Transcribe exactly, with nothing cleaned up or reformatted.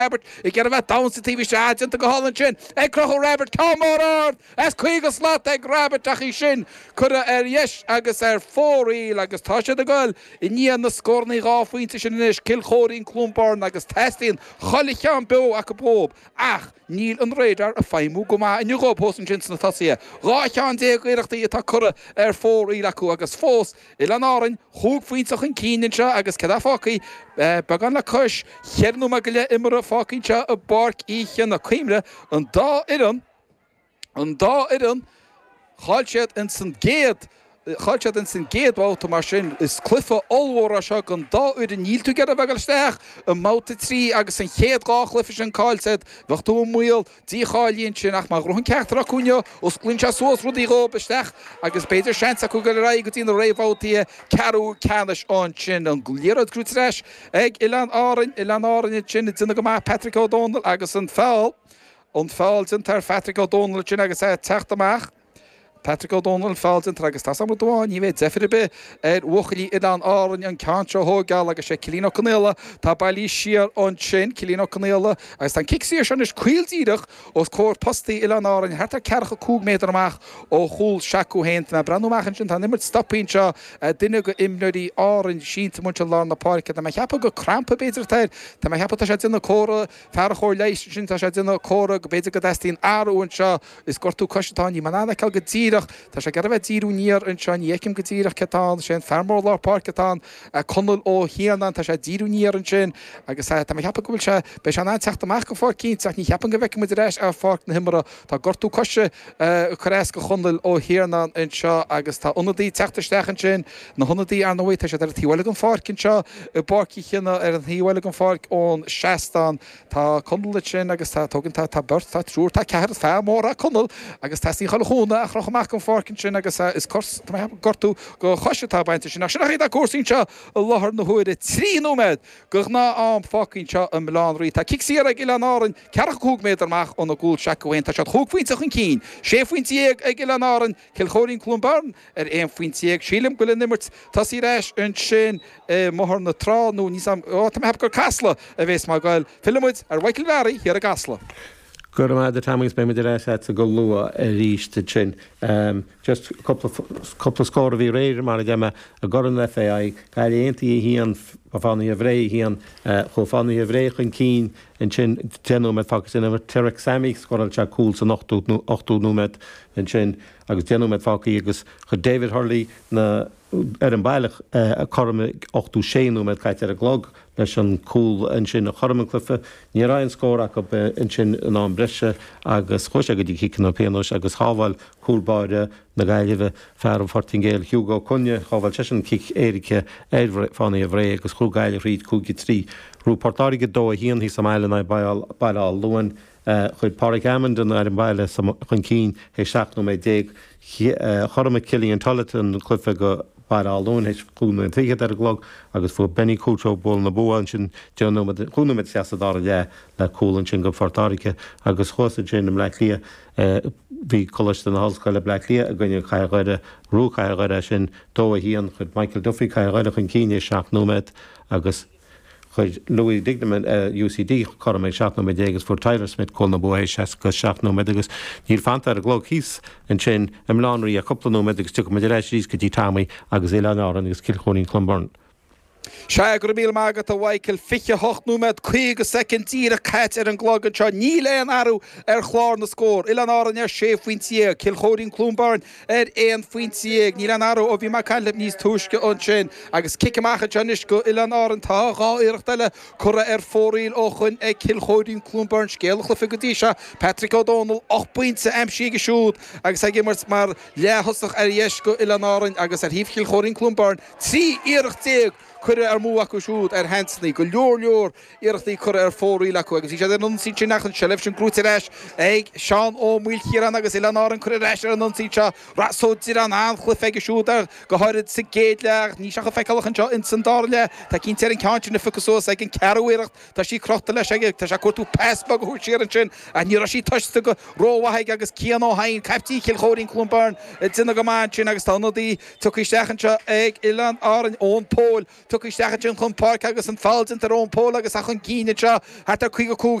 Roibeaird ag iarraidh a bheith domhain sa taobh istigh, déanta go hálainn sin ag Conchúr Roibeaird, ceann mór ard as caoga slat ag Roibeaird ach í sin curtha ar dheis agus ar fóraoil agus tá siad ag goil i ndiaidh na scóranna dhá phointe sin anois, Cill Chóirín, Cluain Bheirn agus teastaíonn chuile cheann beo acu dhóibh ach níl an radar ag feidhmiú go maith inniu dhóibh thuas ansin sna tosaithe. Dhá cheann déag iarrachtaí atá curtha ar fóraoil acu agus fós Oileáin Árainn chúig phointe chun cinn anseo agus céard atá fágtha? Beagán le cois cheithre nóiméad go leith imeartha fágtha anseo i bPáirc Uí Chionnaith. Cuimhnigh, an dá fhoireann, an dá fhoireann, chaill siad ins an gcéad, chaill siad ins an gcéad bhabhta mar sin is cluiche ollmhór é seo don dá fhoireann. Níl tú ag iarraidh a bheith ag dul isteach i mbabhta trí agus an chéad dhá chluiche sin caillte agat, bheadh tú i mbaol dícháilithe ansin ach má ghnóthaíonn ceachtar acu inniu, osclaíonn sé suas rudaí dhóibh isteach agus b'fhéidir seans acu dul ar aghaidh go dtí na réamhbhabhtaí ceathrú ceannais ansin. An liathróid gnóite ar ais ag Oileáin Árainn, Oileáin Árainn ansin ag déanamh go maith Patrick Ó Dónaill agus an feall, an feall déanta ar Phatrick Ó Dónaill ansin agus é ag teacht amach. Patrick Ó Dónaill, feall déanta agus tá 's agam rud amháin, ní bheidh deifir ar bith ar bhuachaillí Oileáin Árainn an ceann seo a thóigeáil agus sé Cillian Ó Conaola atá bailithe siar ansin, Cillian Ó Conaola agus tá an cic saor seo anois caol díreach os comhair postaí Oileáin Árainn thart ar ceathracha cúig méadar amach ó chúl s'acu féin. Tá mé ag breathnú amach ansin, tá an imirt stoptha anseo, duine de imreoirí Árainn sínte amuigh anseo i lár na páirce. Tá mé ag ceapadh gur crampa b'fhéidir atá air, tá mé ag ceapadh tá sé ag déanamh comhartha, fear an chóir leighis ansin, tá sé ag déanamh comhartha go b'fhéidir go dteastaíonn athrú anseo. Is gortú coise atá ann, níl mé in ann a fheiceáil go díreach. Tá sé ag iarraidh a bheith ag díriú aniar anseo, ní fheicim go díreach cé atá ann. Is é an fear mór lár páirce atá ann, Conall Ó hIarnáin, tá sé ag díriú aniar ansin agus tá mé ag ceapadh go bhfuil sé, beidh sé in ann teacht amach go pháirc cinnte ach ní cheapaim go bhfeicfidh muid ar ais ar pháirc na himeartha. Tá gortú coise ag cur as do Chonall Ó hIarnáin anseo agus tá ionadaí ag teacht isteach ansin, na hionadaí ar ndóigh, tá siad ar an taobh eile den pháirc anseo i bPáirc Uí Chionnaith, ar an taobh eile den pháirc ón seastán. Tá Conall ansin agus tá, tógann, tá, tá beirt, tá triúr, tá ceathrar, fear mór é Conall agus teastaíonn chuile chúnamh a chrochadh amach den pháirc ansin agus is cos, tá mé ag ceapadh gortú do chois atá bainte ansin. Ach sin é atá cúrsaí anseo i láthair na huaire. Trí nóiméad de ghnáth-am fágtha anseo i mBaile Átha an Rí. Tá cic saor ag Oileáin Árainn, ceathracha cúig méadar amach óna gcúl s'acu féin. Tá siad chúig phointe chun cinn, sé phointe dhéag ag Oileáin Árainn, Cill Chóirín Cluain Bheirn ar aon phointe dhéag. Sílim go bhfuil an imirt tosaithe ar ais ansin i mBóthar na Trá nó níl 's a'm, ó tá mé ag ceapadh gur Casla a bhéas mar ghoil. Fillfidh muid ar Mhichael Bharry thiar i gCasla. Go raibh maith agat a Tommy agus beidh muid ar ais agatsa go luath arís ansin. Just cúpla cúpla scór a bhí aréir mar a deir mé i gCorn an FAI, Gaillimh Aontaithe a haon, Fánaithe Bhré a haon. Chuaigh Fánaithe Bhré chun cinn ansin deich nóiméad fágtha san imirt. Tarek Sami scóráil sé cúl san ochtú ochtú nóiméad ansin agus deich nóiméad fágtha agus chuir David Hurley na ar an baile cothrom ag ochtó sé nóiméad caite ar an gclog leis an cúl ansin a chothrom an cluiche. Ní raibh aon scór acu ansin in am breise agus chuaigh sé go dtí ciceanna pionóis agus shábháil cúl báire na Gaillimhe, fear an Phortaingéil Hugo Cunha, shábháil seisean an cic éirice ar Fánaithe Bhré agus chuaigh Gaillimh thríd cúig a trí. Ghnóthaigh Port Láirge dó a haon thíos sa mbaile in aghaidh Baile Átha Luain. Chuir Pádraig Amond an fhoireann baile chun cinn théis seacht nóiméad déag. Chothromaigh Cillian Tullett an cluiche do Bhaile Átha Luain théis cúig nóiméad fichead ar an gclog agus fuair Benny Couto bualadh na bua ansin deich nóiméad, chúig nóiméad isteach sa dara leath le cúl ansin do Phort Láirge agus thuas ansin i mBleá Cliath bhí Coláiste na hOllscoile Bleá Cliath i gcoinne Cathair Dhoire. Ghnóthaigh Cathair Dhoire é sin dó a haon. Chuir Michael Duffy Cathair Dhoire chun cinn théis seacht nóiméad agus Chuir Louis Dignan UCD cothrom ag seacht nóiméad déag agus fuair Tyler Smith cúl na bua théis seasca seacht nóiméad agus níl fanta ar an gclog thíos ansin i mBaile Átha an Rí ach cúpla nóiméad agus tiocfaidh muid ar ais arís go dtí Tommy agus Oileáin Árann agus Cill Chóirín Clonberne. Sea, go raibh míle maith agat a Mhichael. Fiche hocht nóiméad caoga soicind díreach caite ar an gclog anseo. Níl aon athrú ar chlár na scór. Oileáin Árann ar sé phointe dhéag, Cill Chóirín Cluain Bheirn ar aon phointe dhéag. Níl aon athrú ó bhí mé ag caint libh níos túisce ansin. Agus cic amach anseo anois go Oileáin Árann. Tá dhá iarracht eile curtha ar fóraoil ó shoin ag Cill Chóirín Cluain Bheirn. Scéal an chluiche go dtí seo, Patrick Ó Dónaill, ocht bpointe aimsithe aige siúd agus é ag imirt mar leath-thosach ar dheis go Oileáin Árann agus ar thaobh Chill Chóirín Cluain Bheirn, trí iarracht déag curtha amú acu siúd ar sheansanna. Go leor leor iarrachtaí curtha ar fóraoil acu agus bhí siad ar an ionsaí ansin ach an tseilbh sin gnóite ar ais ag Seán Ó Maoilchiaráin agus Oileáin Árann curtha ar ais ar an ionsaí seo. Ross Ó Direáin, an-chluiche aige siúd ar go háirid sa gcéad leath ach níl sé chomh feiceálach anseo ins an dara leath. Tá cinnte ar an ceann sin a phiocadh suas ag an ceathrú iarracht. Tá sí crochta leis aige. Tá sé ag cuartú pas beag a thabhairt siar ansin ach ní raibh sí tomhaiste go rómhaith aige agus Cian Ó hEidhin, caiptín Chill Chóirín Cluain Bheirn, ag déanamh go maith ansin agus tá ionadaí tugtha isteach anseo ag Oileáin Árann, Eoin Póil. Tugtha isteach ansin chun páirce agus an foul déanta ar Eoin Pól agus a chun cinn seo thart ar caoga cúig